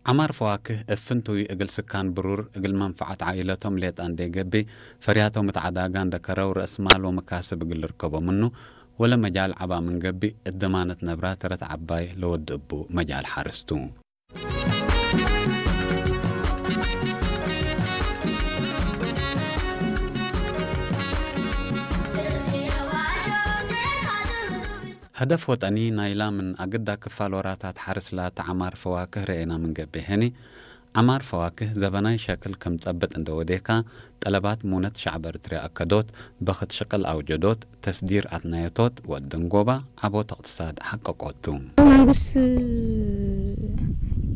ዓማር ፈዋክህ እፍንቱይ እግል ስካን ብሩር እግል መንፈዓት ዓኢለቶም ሌጣ እንዴ ገቢ ፈርያቶም እት ዓዳጋ እንደ ከረው ረእስ ማል ወመካስብ እግል ርከቦ ምኑ ወለ መጃል ዓባ ምን ገቢ እት ደማነት ነብራ ተረት ዓባይ ለወድ እቡ መጃል ሓርስቱ። ሀደፍ ወጠኒ ናይላ ምን ኣግዳ ክፋል ወራታት ሓርስ ላተ ዓማር ፈዋክህ ረኤና ምን ገቤ ሄኒ፣ ዓማር ፈዋክህ ዘበናይ ሸክል ከም ጸብጥ እንደ ወዴካ፣ ጠለባት ሙነት ሸዕብ ኤርትርያ ኣከዶት፣ በኽት ሽቅል ኣውጀዶት፣ ተስዲር ኣትናየቶት፣ ወድ ደንጎባ፣ ዓቦት እቅትሳድ ሓቀቆቱ። መንግስት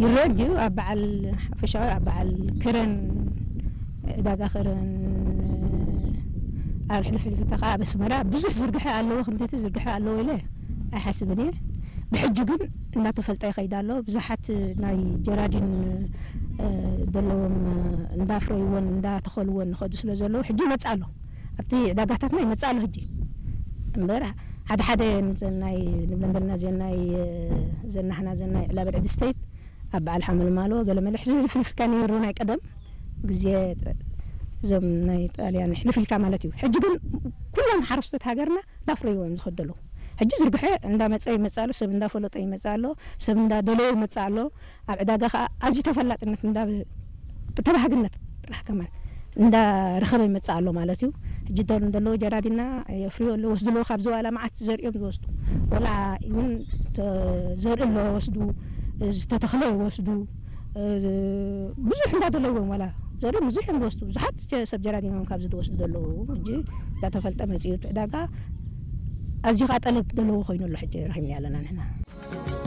ይረድ እዩ፣ ኣብ በዓል ሓፈሻዊ፣ ኣብ በዓል ክረን፣ ዕዳጋ ክረን፣ ኣብ ሕልፍ ሕልፍ ከዓ ኣብ ኣስመራ ብዙሕ ዝርግሐ ኣለዎ፣ ክንድቲ ዝርግሐ ኣለዎ ኢለ ኣይሓስብን እየ። ብሕጂ ግን እናተፈልጠ ይኸይድ ኣሎ። ብዙሓት ናይ ጀራዲን፣ እ፣ ዘለዎም፣ እ፣ እንዳፍረይዎን እንዳተኸልዎን ንኸዱ ስለ ዘለዉ ሕጂ ይመጽእ ኣሎ። ኣብቲ ዕዳጋታትና ይመጽእ ኣሎ ሕጂ። እምበር ሓደ ሓደ ናይ ንብለን ዘለና ዘን ናይ፣ እ፣ ዘናህና ዘን ናይ ዕላበል ዕድ ስተይት ኣብ በዓል ሓመልማሎ ገለመለ ሕዚ ፍልፍልካ ነይሩ ናይ ቀደም ግዜ እዞም ናይ ጣልያን ሕልፍልካ ማለት እዩ። ሕጂ ግን ኩሎም ሓረስቶት ሃገርና ላፍረይዎ እዮም ዝኸዱ ኣለዉ። ሕጂ ዝርግሐ እንዳመጸ ይመጽእ ኣሎ፣ ሰብ እንዳፈለጦ ይመጽእ ኣሎ፣ ሰብ እንዳደለዮ ይመጽእ ኣሎ። ኣብ ዕዳጋ ኸኣ ኣዝዩ ተፈላጥነት እንዳ-፣ ብተባሃግነት ጥራሕ ከማን እንዳረኸበ ይመጽእ ኣሎ ማለት እዩ። ሕጂ ደል-፣ እንደለዎ ጀራዲና የፍርዮ ኣለዎ፣ ወስዱ ኣለዎ፣ ካብ ዝዋላ መዓት ዘርእዮም ዝወስዱ። ወላ እውን ተ-፣ ዘርኢ ኣለዎ ወስዱ፣ ዝተተኽለ ይወስዱ። እ፣ ብዙሕ እንዳደለዎም ዋላ ዘርኢ ብዙሕ እዮም ዝወስዱ። ብዙሓት ጀ-፣ ሰብ ጀራዲና እዮም ካብዚ ዝወስዱ ዘለዉ። ሕጂ እንዳተፈልጠ መጺኡ እቲ ዕዳጋ ኣዝዩ ኸኣ ጠለብ ዘለዎ ኮይኑ ኣሎ። ሕጂ ረኺብና ኣለና ንሕና።